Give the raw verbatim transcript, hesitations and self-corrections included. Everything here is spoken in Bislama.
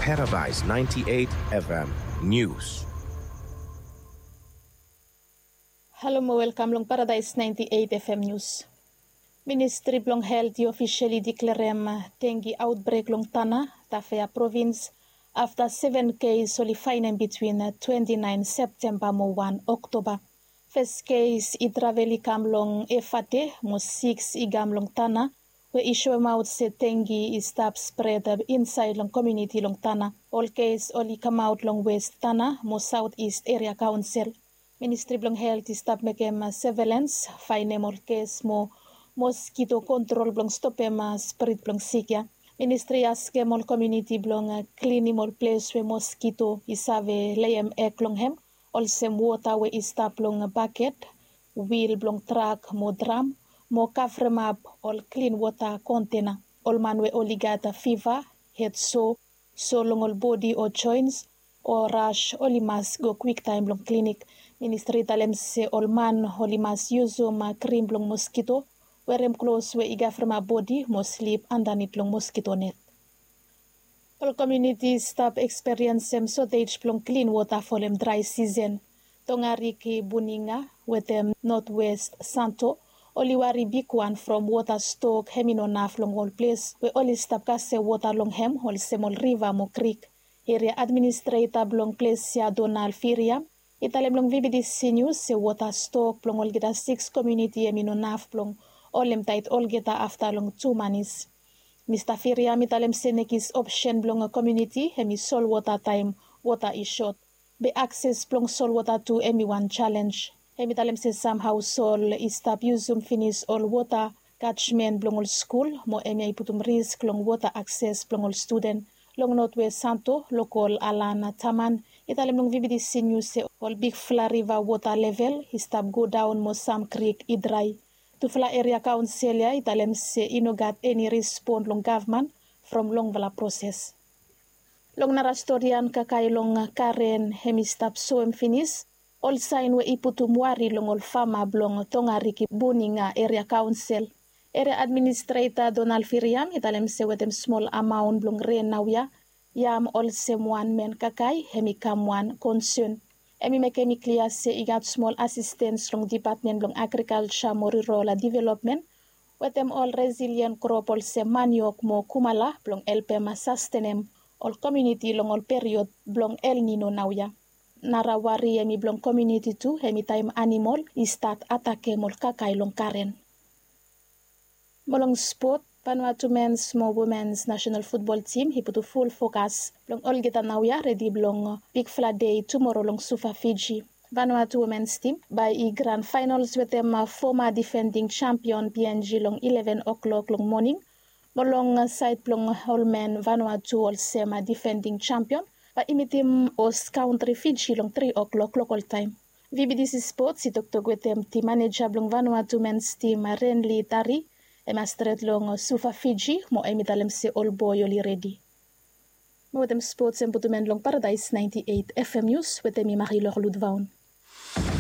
Paradise ninety-eight F M News. Halo mo welkam long Paradise ninety-eight F M News. Ministri blong Helt i ofisali diklerem dengi aotbrek long Tana, Tafea provins, afta seven kes oli faenem bitwin twenty-nine Septemba mo wan Oktoba. Fes kes i travel i kam long Efate mo sikis i kam long Tana, we i soemaot se dengi i stap spred insaed long komuniti long Tana. Ol kes oli kamaot long West Tana mo Saot Ist Eria Kaonsel. Ministri blong Helt i stap mekem sevelens, faenem ol kes mo moskito kontrol blong stopem sprit blong sik ya. Ministri i askem ol komuniti blong klinim ol ples we moskito i save leem eg long hem, olsem wota we i stap long baket, wil blong trak mo dram, mo kavremap ol klin wota kontena. Ol man we oli gat fiva, hed so, so long ol bodi o joens, o ras, oli mas go kwiktaem long klinik. Ministri i talem se ol man oli mas yusum krim blong moskito, werem klos we i kavremap bodi mo slip andanit long moskito net. Ol komuniti i stap eksperiensem sotej blong klin wota folem drae sisen. Tongariki, Buninga wetem Notwest Santo oli wari bigwan from wota stok hem i no naf long ol ples we oli stap kasem wota long hem olsem ol riva mo krik. Eria administreta blong ples ya, Donald Firiam, i talem long V B D C News se wota stok blong olgeta sikis komuniti hem i no naf blong holem taet olgeta afta long tu manis. Mista Firiam i talem se nekis opsen blong komuniti hem i solwota taem wota i sot. Be akses blong solwota tu hem i wan jalenj. Hem i talem se sam haosol i stap yusum finis ol wota katjmen blong ol skul mo hemia i putum risk long wota akses blong ol studen. Long Notwest Santo, lokol Alana Taman i talem long V B D C News se ol bigfala riva wota level i stap godaon mo sam krik i drae. Tufala eria kaonsel ya i talem se i no gat eni respon long gavman from longfala proses. Long nara storian, kakae long Karen hem i stap soem finis ol saen we i putum wari long ol fama blong Tongariki, Buninga eria kaonsel. Eria administreta Donald Firiam i talem se wetem smol amaon blong ren naoia, yam olsem wan men kakae hem i kam wan konsen. Hem i mekem i klia se i gat smol asistens long Dipatmen blong Agrikalja mo Rural Developmen wetem ol resilien krop olsem maniok mo kumala blong helpem sastenem ol komuniti long ol period blong El Nino naoia. Nara wari hem i blong komuniti tu hem i taem animol i stat atakem ol kakae long Karen. Mo long spot, Vanuatu mens mo womens nasenal futbol tim i putum ful fokas blong olgeta naoia redi blong bigfala dei tumoro long Suva, Fiji. Vanuatu womens tim bae i gran faenols wetem foma difending jampion P N G long ileven o'clock long moning. Mo long saed blong ol men Vanuatu olsem difending jampion bae i mitim hos kantri Fiji long tri o'clock lokol taem. V B D C Sports i toktok wetem tim maneja blong Vanuatu mens tim, Renly Tari, hem i stret long Suva, Fiji mo hem i talem se ol boe oli redi. Mo wetem spots hem putum en long Paradise ninety-eight F M News wetem mi Marie-Laure Ludvaon.